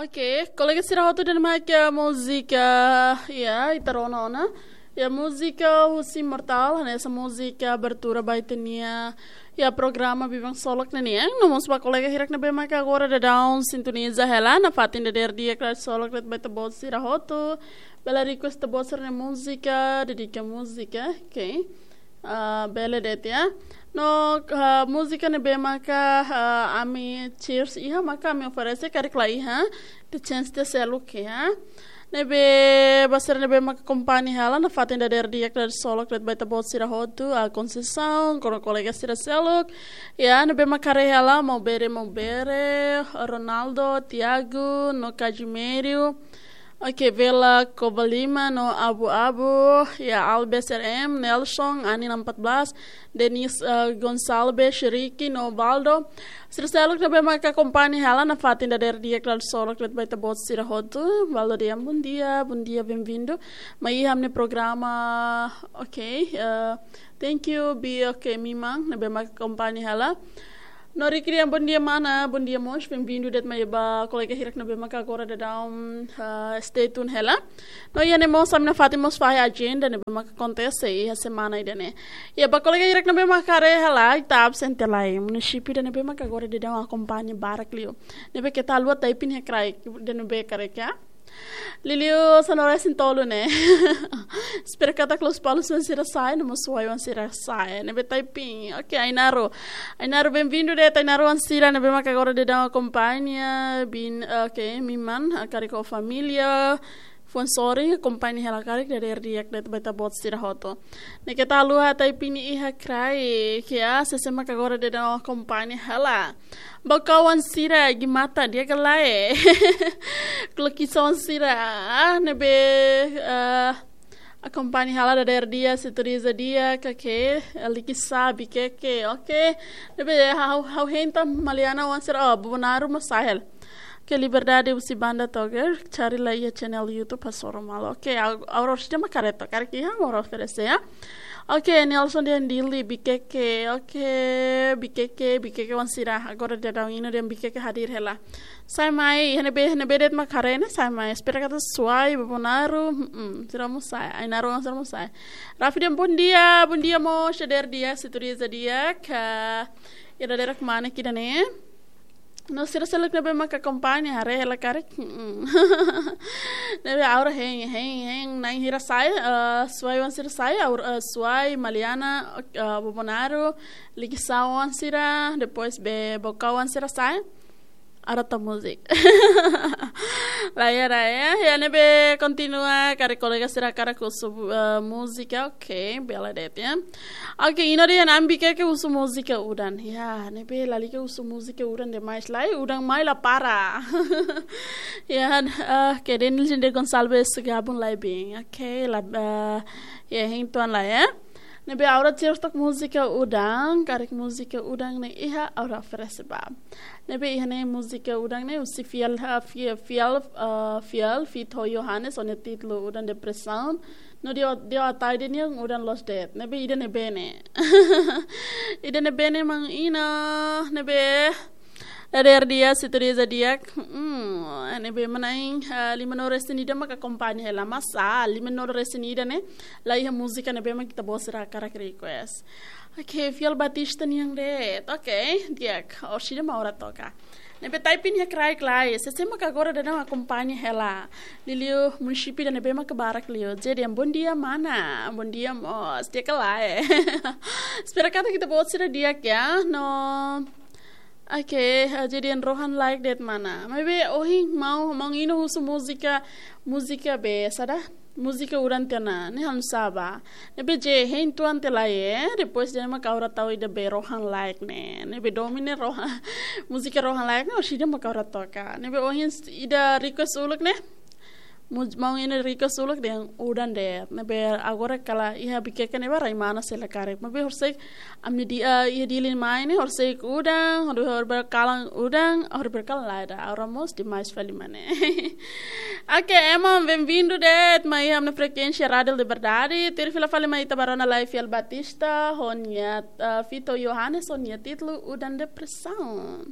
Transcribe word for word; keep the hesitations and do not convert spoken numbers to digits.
Oke, kolega sira hotu, ida-ne'e mak múzika, ya, ita rona ona. Ya, múzika husi Imortal, hanesan múzika abertura ba ita-nia, ya, programa Biban Solok ne'e nian. No mós ba kolega hirak ne'ebé maka agora daudaun sintoniza hela, nafatin dadeer di'ak Rádiu Solok, ita-boot sira hotu. Bele request ita-boot sira-nia múzika, dedika múzika, oke. Ah, bele de'it ya. No, ah, múzika ne'ebé maka, ah, ami cheers iha, maka ami oferese karik la iha, ita chance ida seluk ya. Ne'ebé ba sira ne'ebé maka akompaña hela nafatin dadeer di'ak Rádiu Solok, ita-boot sira hotu, ah, Conceição, ho kolega sira seluk. Ya, ne'ebé maka haree hela, Maubere, Maubere, Ronaldo, Tiago, no Casimiro. Oke, Vela Covalima no Abu Abu, ya, Albes R M, Nelson, Ani enam empat belas, Denis, eh, Gonçalves, Ricky no Baldo. Sira seluk ne'ebé maka akompaña hela nafatin dadeer di'ak Rádiu Solok, ita-boot sira hotu. Baldo dehan bom dia, bom dia, bem-vindo. Mai iha ami-nia programa, oke, eh, thank you, bi, oke, Miman, ne'ebé maka akompaña hela. No Ricky dehan bom dia mana, bom dia mós, bem-vindo de'it mai ba kolega hirak ne'ebé maka agora daudaun, ah, stay tune hela. No iha ne'e mós ami nafatin mós fahe ajenda ne'ebé maka akontese iha semana ida-ne'e. Ya, ba kolega hirak ne'ebé maka haree hela, ita absente lai. Munisípiu ida ne'ebé maka agora daudaun akompaña barak liu. Ne'ebé keta haluha typing iha kraik, ida ne'ebé karik ya. Liuliu sanulu-resin-tolu ne'e. Espera katak Lospalos oan sira sa'e, no mós Suai oan sira sa'e. Ne'ebé typing. Oke, Ainaro. Ainaro, bem-vindo de'it, Ainaro oan sira ne'ebé maka agora daudaun akompaña, bin, oke, Miman, ah, karik ho família. Fuan sorin, akompaña hela karik dadeer di'ak de'it ba ita-boot sira hotu. Ne'e keta haluha typing iha kraik ya, sé-sé maka agora daudaun akompaña hela. Baucau oan sira, Gimata, di'ak ka lae? Klokiso oan sira, ah, ne'ebé, ah, akompaña hela dadeer di'ak, sintoniza di'ak, oke, Likisá, Viqueque, oke. Ne'ebé ha'u, ha'u hein tan Maliana oan sira, oh, Bobonaro mós sa'e hela. Oke, Liberdade husi Banda Toger, cari lai iha channel YouTube Pasoro Malo. Oke, au, au orsida mak haree took, karik iha, au oferese ya. Oke, Nelson dehan Dili, Viqueque, oke, Viqueque, Viqueque oan sira, agora daudaun ino dehan Viqueque hadir hela. Sa'e mai, iha ne'ebé, iha ne'ebé de'it mak haree ne'e, sa'e mai. Espera katak Suai, Bobonaro, mm, sira mós sa'e, Ainaro oan sira mós sa'e. Rafi dehan bom dia, bom dia mós, dadeer di'ak, sintoniza di'ak, ah, iha dadeer kemana ida-ne'e. No sira seluk ne'ebé maka akompaña, haree hela karik. Mm. Ne'ebé agora hein, hein, hein, na'in hira sa'e, eh, Suai oan sira sa'e, agora, eh, Suai, Maliana, eh, Bobonaro, Likisá oan sira, depois be Baucau oan sira sa'e. Agora to'o múzika. Lae, lae, ya, ne'ebé kontinua, karik kolega sira hakarak husu, eh, múzika, oke, bele de'it ya. Oke, ino dehan ami Viqueque husu múzika udan. Ya, ne'ebé lalika husu múzika udan demais. Lae, udan mai la para. Ya, ah, oke, Denilson de Gonçalves gabung lai bem. Oke, la, ah, ya, hein tuan lai ya. Ne'ebé agora cheers took múzika udan, karik múzika udan ne'e iha, agora oferese ba. Ne'ebé iha ne'e múzika udan ne'e husi fiel, ah, fie-, fiel, ah, fiel, feat ho Johannes, ho nia títulu udan Depressão. No nia, nia atai dehan nia udan loos de'it. Ne'ebé ida-ne'ebé ne'e. Ida-ne'ebé ne'e maun Ina, ne'ebé dadeer di'ak, sintoniza di'ak. Hmm, ne'ebé manán, ah, limanulu-resin-ida maka akompaña hela, masa, limanulu-resin-ida ne'e, la iha múzika ne'ebé mak ita-boot sira hakarak request. Oke, Fiel Batista nian de'it. Oke, di'ak, orsida mak agora toka. Ne'ebé typing iha kraik lai, sé-sé maka agora daudaun akompaña hela. Liuliu munisípiu ida ne'ebé maka barak liu. Jadi, bom dia mana, bom dia mós, di'ak ka lae? Espera katak ita-boot sira di'ak ya, no. Oke, ah, jadi Rohan like de'it mana. Maibé ohin maun, maun Ina husu múzika, múzika be, saida? Múzika udan tiha ona, ne'e ha'u sá ba. Ne'ebé je, hein tuan tiha lai, eh? Depois ida-ne'e mak agora tau ida be Rohan like ne'e. Ne'ebé domina Rohan. Múzika Rohan like ne'e, orsida mak agora toka. Ne'ebé ohin s-, ida request uluk ne'e. Mu-, maun Ina request uluk dehan udan de'it. Ne'ebé agora kala iha Viqueque ne'ebá rai mana sei la karik. Maibé horisehik ami-nia di-, eh, iha Dili mai ne'e, horisehik udan, hodi, hodi bele kalan udan, hodi bele kalan lae ida. Agora mós demais fali mana. Oke, ema, bem-vindo de'it mai iha ami-nia frekuénsia Rádiu Liberdade. Tuir fila fali mai ita bá rona lai Fiel Batista, ho nia, eh, feat Johannes, ho nia títulu udan Depressão.